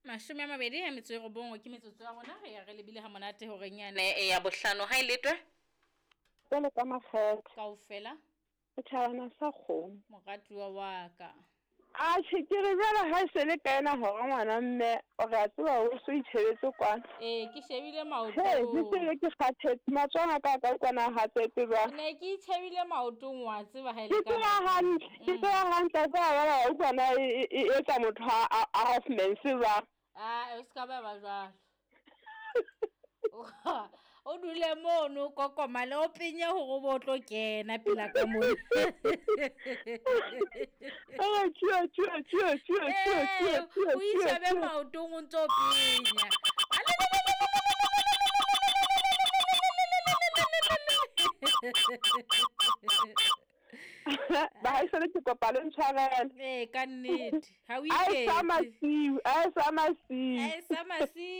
29 ke metsotso ya rona re ya re lebile ha monate horeng yane ya bohlano ha e letwe. Jwalo ka makgethe. Kaofela. Setjhabana sa kgomo. Moratuwa wa ka. Atjhe ke re jwale ha e se le ka ena hora ngwana mme o re a tseba o so itjhebetse kwana. Ee ke shebile maotong. He ke se ke kgathetse matsoho a ka ka utlwana a hatsetse jwang. Ne ke itjhebile maotong wa tseba ha e le ka. Ke tseba hantle, ke tseba hantle a tseba jwale wa utlwana e etsa motho a half mense jwang. Ah, o se ka ba ba jwalo. O dule mono o kokomale o penye gore o bo o tlo kena pela ka mo. O itšhabe maotong o ntse o penya. Bahaisane ke kopa le ntshwarele. Ee, ka nnete. Ha o A e sa iketse. masiu, a e sa masiu. A e sa masiu.